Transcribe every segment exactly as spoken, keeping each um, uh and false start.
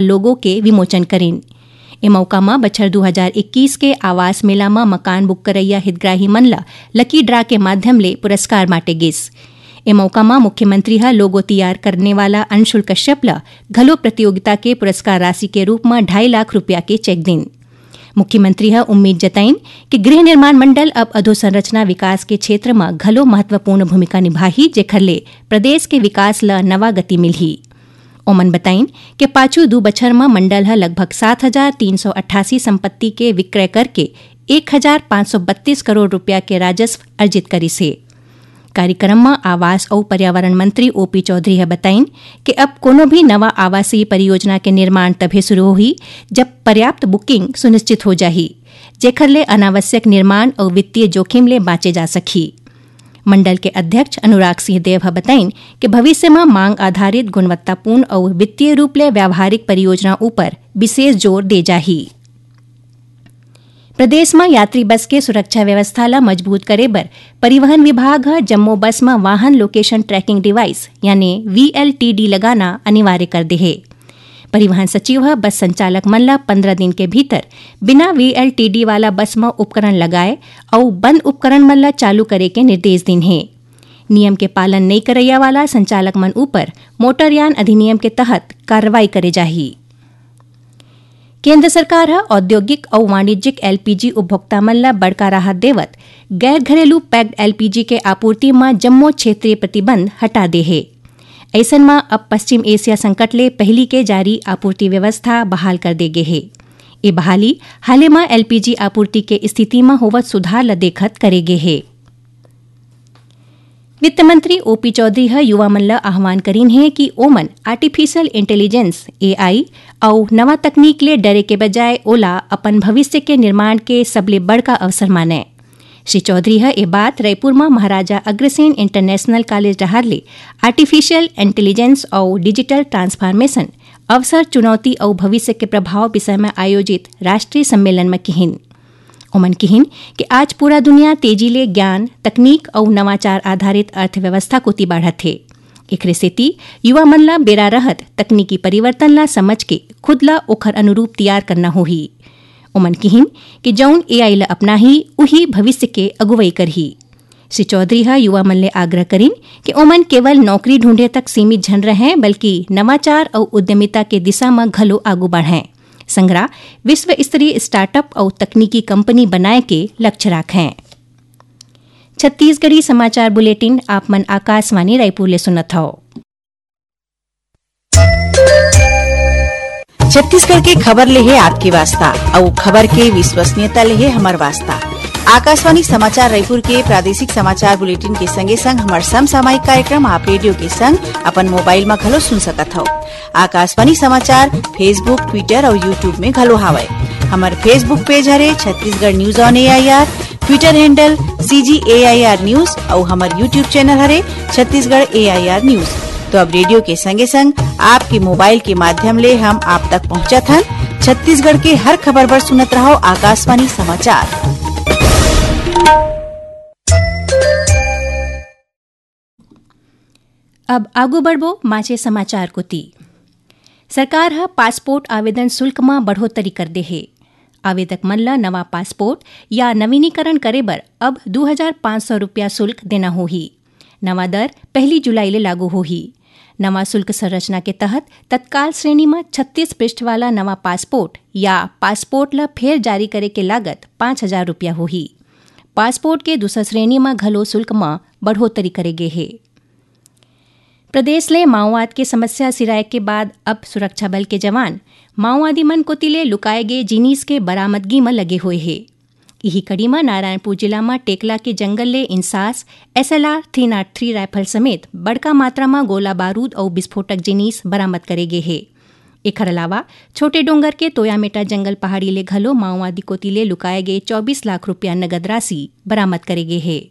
लोगो के विमोचन करिन। ए मौका म बछर दू हजार इक्कीस के आवास मेला म मकान बुक करइया हितग्राही मन ल लकी ड्रा के माध्यम ले पुरस्कार बांटे गिस। ए मौका म मुख्यमंत्री ह लोगो तियार करने वाला अंशुल कश्यप ल घलो प्रतियोगिता के पुरस्कार राशि के रूप म ढाई लाख रुपया के चेक दिन। मुख्यमंत्री ह उम्मीद जताइन कि गृह निर्माण मंडल अब अधोसंरचना विकास के क्षेत्र म घलो महत्वपूर्ण भूमिका निभाही, जेखर ले प्रदेश के विकास ल नवा गति मिलही। ओमन बताइन कि पाछू दू बछर म मंडल ह लगभग सात हजार तीन सौ अट्ठासी संपत्ति के विक्रय करके एक हजार पाँच सौ बत्तीस करोड़ रुपया के राजस्व अर्जित करिस हे। कार्यक्रम म आवास अउ पर्यावरण मंत्री ओपी चौधरी ह बताइन कि अब कोनो भी नवा आवासीय परियोजना के निर्माण तभे शुरू होही, जब पर्याप्त बुकिंग सुनिश्चित हो जाही, जेखर ले अनावश्यक निर्माण अउ वित्तीय जोखिम ले बांचे जा सकही। मंडल के अध्यक्ष अनुराग सिंह देव ह बताइन कि भविष्य म मांग आधारित, गुणवत्तापूर्ण अउ वित्तीय रूप ले व्यावहारिक परियोजना ऊपर विशेष जोर दे जाही। प्रदेश म यात्री बस के सुरक्षा व्यवस्था ल मजबूत करे बर परिवहन विभाग ह जम्मो बस म वाहन लोकेशन ट्रैकिंग डिवाइस यानी वीएलटीडी लगाना अनिवार्य कर दे हे। परिवहन सचिव ह बस संचालक मन ल पंद्रह दिन के भीतर बिना वीएलटीडी वाला बस म उपकरण लगाए अउ बंद उपकरण मन ल चालू करे के निर्देश दिन हे। नियम के पालन नइ करइया वाला संचालक मन ऊपर मोटरयान अधिनियम के तहत कार्रवाई करे जाही। केंद्र सरकार ह औद्योगिक अउ वाणिज्यिक एलपीजी उपभोक्ता मन ल बड़का राहत देवत गैर घरेलू पैक्ड एलपीजी के आपूर्ति म जम्मो क्षेत्रीय प्रतिबंध हटा दे हे। अइसन म अब पश्चिम एशिया संकट ले पहिली के जारी आपूर्ति व्यवस्था बहाल कर दे गे हे। ए बहाली हाले म एलपीजी आपूर्ति के स्थिति म होवत सुधार ल देखत करे गे हे। वित्त मंत्री ओपी चौधरी ह युवा मन ल आह्वान करिन हे कि ओमन आर्टिफिशियल इंटेलिजेंस, एआई, अउ नवा तकनीक ले डरे के बजाय ओला अपन भविष्य के निर्माण के सबले बड़का अवसर मानय। श्री चौधरी ह ए बात रईपुर म महाराजा अग्रसेन इंटरनेशनल कॉलेज डहार ले आर्टिफिशियल इंटेलिजेंस अउ डिजिटल ट्रांसफॉर्मेशन, अवसर, चुनौती अउ भविष्य के प्रभाव विषय म आयोजित राष्ट्रीय सम्मेलन म किहिन। ओमन किहिन कि आज पूरा दुनिया तेजी ले ज्ञान, तकनीक अउ नवाचार आधारित अर्थव्यवस्था कोति बाढ़त हे। एखरे सेती युवा मन ल बेरा रहत तकनीकी परिवर्तन ल समझ के खुद ल ओखर अनुरूप तियार करना होही। ओमन किहिन कि जउन एआई ल अपनाही, उही भविष्य के अगुवई करही। श्री चौधरी ह युवा मन ले आग्रह करिन कि ओमन केवल नौकरी ढूंढे तक सीमित झन रहें, बल्कि नवाचार अउ उद्यमिता के दिशा म घलो आगू बढ़ें। संघरा विश्व स्तरीय स्टार्टअप अउ तकनीकी कंपनी बनाए के लक्ष्य राखें। छत्तीसगढ़ी समाचार बुलेटिन आप मन आकाशवाणी रायपुर ले सुनत हव। छत्तीसगढ़ के खबर ले हे आपके वास्ता, अउ खबर के विश्वसनीयता ले हे हमर वास्ता। आकाशवाणी समाचार रायपुर के प्रादेशिक समाचार बुलेटिन के संगे संग हमर समसामयिक कार्यक्रम आप रेडियो के संग अपन मोबाइल म घलो सुन सकत हव। आकाशवाणी समाचार Facebook, Twitter अउ YouTube में घलो हावय। हमर Facebook पेज हरे Chhattisgarh news on AIR, Twitter handle CG AIR news अउ हमर YouTube चैनल हरे छत्तीसगढ़ एआईआर न्यूज। तो अब रेडियो के संगे संग आपके मोबाइल के माध्यम ले हम आप तक पहुंचत हन। छत्तीसगढ़ के हर खबर बर सुनत रहव आकाशवाणी समाचार। अब आगू बढ़बो माचे समाचार कोति। सरकार ह पासपोर्ट आवेदन शुल्क म बढ़ोतरी कर दे हे। आवेदक मन ल नवा पासपोर्ट या नवीनीकरण करे बर अब दू हजार पाँच सौ रुपया शुल्क देना होही। नवा दर पहली जुलाई ले लागू होही। नवा शुल्क संरचना के तहत तत्काल श्रेणी म छत्तीस पृष्ठ वाला नवा पासपोर्ट या पासपोर्ट ल फेर जारी करे के लागत पाँच हजार रुपया होही। पासपोर्ट के दूसर श्रेणी म घलो शुल्क म बढ़ोतरी करे गे हे। प्रदेश ले माओवाद के समस्या सिराए के बाद अब सुरक्षा बल के जवान माओवादी मन कोति ले लुकाए गे जिनिस के बरामदगी म लगे हुए हे। इही कड़ी म नारायणपुर जिला म टेकला के जंगल ले INSAS, SLR three not three rifle समेत बड़का मात्रा म गोला बारूद अउ विस्फोटक जिनिस बरामद करे गे हे। एखर अलावा छोटे डोंगर के तोयामेटा जंगल पहाड़ी ले घलो माओवादी कोति ले लुकाए गे चौबीस लाख रुपया नगद राशि बरामद करे गे हे।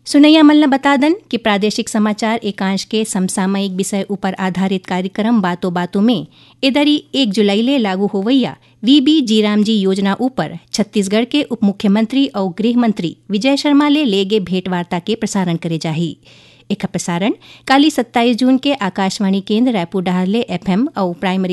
सुनैया मन ल बता दन कि प्रादेशिक समाचार एकांश के समसामयिक विषय ऊपर आधारित कार्यक्रम बातों बातों में ए दरी एक जुलाई ले लागू होवइया वीबी जीराम जी योजना ऊपर छत्तीसगढ़ के उप मुख्यमंत्री अउ गृह मंत्री विजय शर्मा ले ले गे भेंटवार्ता के प्रसारण करे जाही। एखर प्रसारण काली सत्ताईस जून के आकाशवाणी केंद्र रायपुर डहार ले एफएम अउ प्राइमरी